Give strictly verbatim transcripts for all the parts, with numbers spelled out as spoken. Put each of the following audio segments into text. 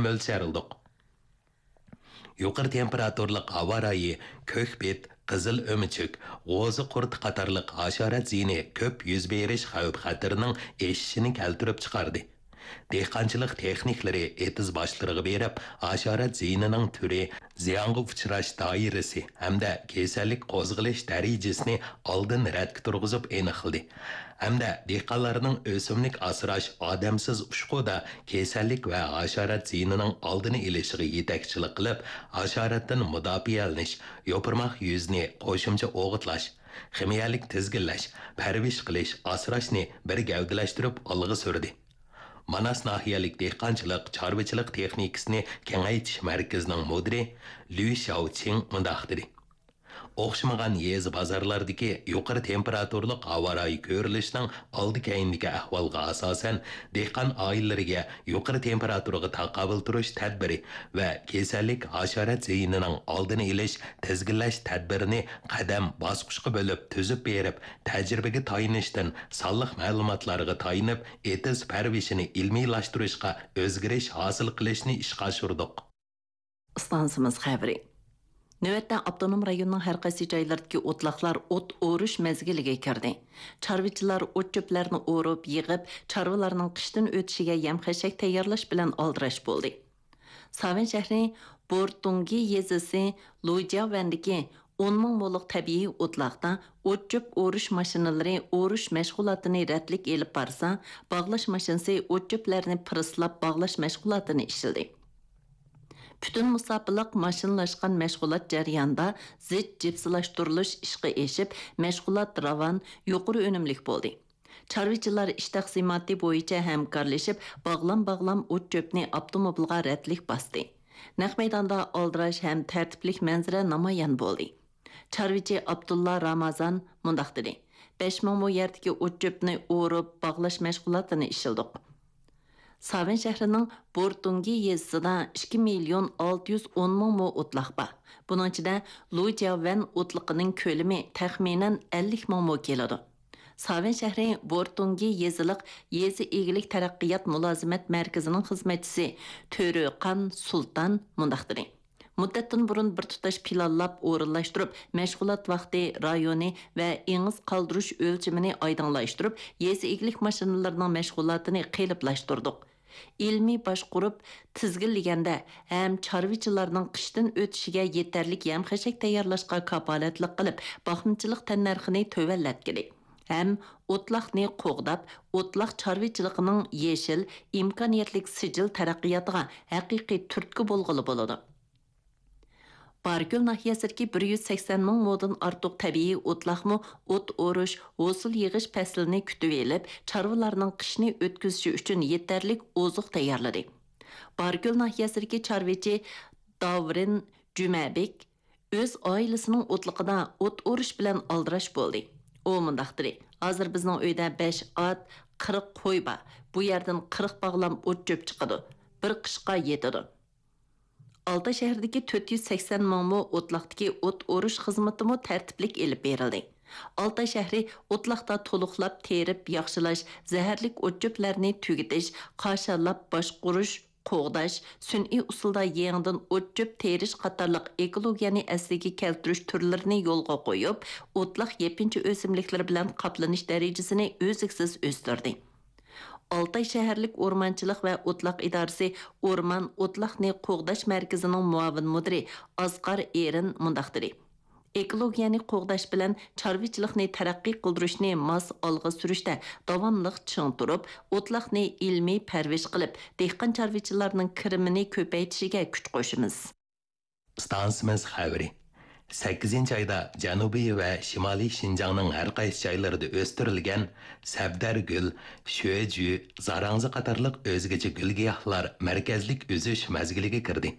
مۆلچەرلىدۇق. يۇقىرى تېمپېراتۇرىلىق ھاۋا رايى، كۆك بىت، قىزىل ئۆمۈچۈك، غوزا قۇرتى قاتارلىق ھاشارات زىيىنى كۆپ يۈز بېرىش خەۋپ-خەتىرىنىڭ ئېشىشىنى كەلتۈرۈپ چىقاردى. دېھقانچىلىق تېخنىكلىرى ئېتىز باشلىرىغا بېرىپ، ھاشارات زىيىنىنىڭ تۈرى، زىيانغا ئۇچراش دائىرىسى ھەمدە كېسەللىك قوزغىلىش دەرىجىسىنى ئالدىن رەتكە تۇرغۇزۇپ ئېنىقلىدى. ھەمدە دېھقانلارنىڭ ئۆسۈملۈك ئاسراش ئادەمسىز ئۇچقۇدا كېسەللىك ۋە ھاشارات زىيىنىنىڭ ئالدىنى ئېلىشىغا يېتەكچىلىك قىلىپ، ھاشاراتتىن مۇداپىئەلىنىش، يوپۇرماق يۈزىنى قوشۇمچە ئوغۇتلاش، خىمىيەلىك تىزگىنلەش، پەرۋىش قىلىش، ئاسراشنى بىر گەۋدىلەشتۈرۈپ ئالغا سۈردى. ماناس ناھىيەلىك دېھقانچىلىق، چارۋىچىلىق تېخنىكىسىنى كېڭەيتىش مەركىزىنىڭ مۇدىرى لۈي شياۋچىڭ مۇنداق دېدى: ئوخشىمىغان يېزا بازارلاردىكى يۇقىرى تېمپېراتۇرىلىق ھاۋا رايى كۆرۈلۈشىنىڭ ئالدى كەينىدىكى ئەھۋالغا ئاساسەن، دېھقان ئائىلىلىرىگە يۇقىرى تېمپېراتۇرىغا تاقابىل تۇرۇش تەدبىرى ۋە كېسەللىك ھاشارات زىيىنىنىڭ ئالدىنى ئېلىش، تىزگىنلەش تەدبىرىنى قەدەم باسقۇچقا بۆلۈپ تۈزۈپ بېرىپ، تەجرىبىگە تايىنىشتىن سانلىق مەلۇماتلارغا تايىنىپ، ئېتىز پەرۋىشىنى ئىلمىيلاشتۇرۇشقا ئۆزگىرىش ھاسىل قىلىشنى ئىشقا ئاشۇردۇق. ئىستانسىمىز خەۋىرى. نۆۋەتتە ئاپتونوم رايوننىڭ ھەر قايسى جايلىرىدىكى ئوتلاقلار ئوت ئورۇش مەزگىلىگە كىردى. چارۋىچىلار ئوت-چۆپلەرنى ئورۇپ، يىغىپ، چارۋىلارنىڭ قىشتىن ئۆتۈشىگە يەم-خەشەك تەييارلاش بىلەن ئالدىراش بولدى. ساۋەن شەھىرى بورتۇڭگى يېزىسى لۇجياۋەندىكى ئون مىڭ مولۇق تەبىئىي ئوتلاقتا ئوت-چۆپ ئورۇش ماشىنىلىرى ئورۇش مەشغۇلاتىنى رەتلىك ئېلىپ بارسا، باغلاش ماشىنىسى ئوت-چۆپلەرنى پىرسلاپ باغلاش مەشغۇلاتىنى ئىشلىدى. پۈتۈن مۇساپىلىق ماشىنىلاشقان مەشغۇلات جەريانىدا زىچ جىپسىلاشتۇرۇلۇش ئىشقا ئېشىپ، مەشغۇلات راۋان، يۇقىرى ئۈنۈملۈك بولدى. چارۋىچىلار ئىش تەقسىماتى بويىچە ھەمكارلىشىپ، باغلام-باغلام ئوت-چۆپنى ئاپتوموبىلغا رەتلىك باستى. نەق مەيداندا ئالدىراش ھەم تەرتىپلىك مەنزىرە نامايان بولدى. چارۋىچى ئابدۇللا رامازان مۇنداق دېدى: بەش مىڭ مو يەردىكى ئوت-چۆپنى ئورۇپ، باغلاش مەشغۇلاتىنى ئىشلىدۇق. ساۋەن شەھىرىنىڭ بورتۇڭگى يېزىسىدا ئىككى مىليون ئالتە يۈز ئون مىڭ مو ئوتلاق بار. بۇنىڭ ئىچىدە لۇجياۋەن ئوتلىقىنىڭ كۆلىمى تەخمىنەن ئەللىك مىڭ مو كېلىدۇ. ساۋەن شەھىرى بورتۇڭگى يېزىلىق يېزا ئىگىلىك تەرەققىيات مۇلازىمەت مەركىزىنىڭ خىزمەتچىسى تۆرۆقان سۇلتان مۇنداق دېدى: مۇددەتتىن بۇرۇن بىر تۇتاش پىلانلاپ ئورۇنلاشتۇرۇپ، مەشغۇلات ۋاقتى، رايونى ۋە ئېڭىز قالدۇرۇش ئۆلچىمىنى ئايدىڭلاشتۇرۇپ، يېزا ئىگىلىك ماشىنىلىرىنىڭ مەشغۇلاتىنى قېلىپلاشتۇردۇق. ئىلمىي باشقۇرۇپ تىزگىنلىگەندە ھەم چارۋىچىلارنىڭ قىشتىن ئۆتۈشىگە يېتەرلىك يەم-خەشەك تەييارلاشقا كاپالەتلىك قىلىپ، باقمىچىلىق تەننەرخىنى تۆۋەنلەتكىلى ھەم ئوتلاقنى قوغداپ، ئوتلاق چارۋىچىلىقىنىڭ يېشىل، ئىمكانىيەتلىك سىجىل تەرەققىياتىغا ھەقىقىي تۈرتكە بولغىلى بولىدۇ. باركۆل ناھىيەسىدىكى بىر يۈز سەكسەن مىڭ مودىن ئارتۇق تەبىئىي ئوتلاقمۇ ئوت ئورۇش، ھوسۇل يىغىش پەسلىنى كۈتۈۋېلىپ، چارۋىلارنىڭ قىشنى ئۆتكۈزۈشى ئۈچۈن يېتەرلىك ئوزۇق تەييارلىدى. باركۆل ناھىيەسىدىكى چارۋىچى داۋرىن جۈمەبېك ئۆز ئائىلىسىنىڭ ئوتلىقىدا ئوت ئورۇش بىلەن ئالدىراش بولدى. ئۇ مۇنداق دېدى: ھازىر بىزنىڭ ئۆيدە بەش ئات، قىرىق قوي بار. بۇ يەردىن قىرىق باغلام ئوت-چۆپ چىقىدۇ. بىر قىشقا يېتىدۇ. ئالتاي شەھىرىدىكى تۆت يۈز سەكسەن مىڭ مو ئوتلاقتىكى ئوت ئورۇش خىزمىتىمۇ تەرتىپلىك ئېلىپ بېرىلدى. ئالتاي شەھىرى ئوتلاقتا تولۇقلاپ تېرىپ ياخشىلاش، زەھەرلىك ئوت-چۆپلەرنى تۈگىتىش، قاشانلاپ باشقۇرۇش، قوغداش، سۈنئىي ئۇسۇلدا يېڭىدىن ئوت-چۆپ تېرىش قاتارلىق ئېكولوگىيەنى ئەسلىگە كەلتۈرۈش تۈرلىرىنى يولغا قويۇپ، ئوتلاق يېپىنچا ئۆسۈملۈكلىرى بىلەن قاپلىنىش دەرىجىسىنى ئۈزلۈكسىز ئۆستۈردى. ئالتاي شەھەرلىك ئورمانچىلىق ۋە ئوتلاق ئىدارىسى ئورمان ئوتلاقنى قوغداش مەركىزىنىڭ مۇئاۋىن مۇدىرى ئاسقار ئېرىن مۇنداق دېدى: ئېكولوگىيەنى قوغداش بىلەن چارۋىچىلىقنى تەرەققىي قىلدۇرۇشنى ماس ئالغا سۈرۈشتە داۋاملىق چىڭ تۇرۇپ، ئوتلاقنى ئىلمىي پەرۋىش قىلىپ، دېھقان چارۋىچىلارنىڭ كىرىمىنى كۆپەيتىشىگە كۈچ قوشىمىز. ئىستانسىمىز خەۋىرى. سەككىزىنچى ئايدا جەنۇبىي ۋە شىمالىي شىنجاڭنىڭ ھەر قايسى جايلىرىدا ئۆستۈرۈلگەن سەبدەر گۈل، شۆجۈ، زاراڭزا قاتارلىق ئۆزگىچە گۈل-گىياھلار مەركەزلىك ئۈزۈش مەزگىلىگە كىردى.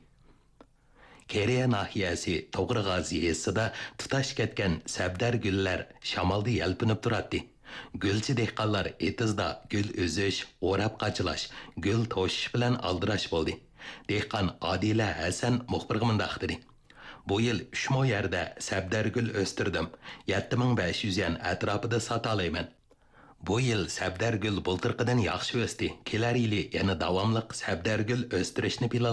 كېرىيە ناھىيەسى توغرىغاز يېزىسىدا تۇتاش كەتكەن سەبدەر گۈللەر شامالدا يەلپۈنۈپ تۇراتتى. گۈلچى دېھقانلار ئېتىزدا گۈل ئۈزۈش، ئوراپ قاچىلاش، گۈل توشۇش بىلەن ئالدىراش بولدى. دېھقان ئادىلە ھەسەن مۇخبىرغا مۇنداق دېدى: بۇ يىل ئۈچ مو يەردە سەبدەر گۈل ئۆستۈردۈم، يەتتە مىڭ بەش يۈز يۈەن ئەتراپىدا ساتالايمەن. بۇ يىل سەبدەرگۈل بۇلتۇرقىدىن ياخشى ئۆستى. كېلەر يىلى يەنە داۋاملىق سەبدەرگۈل ئۆستۈرۈشنى پىلانلايمىز.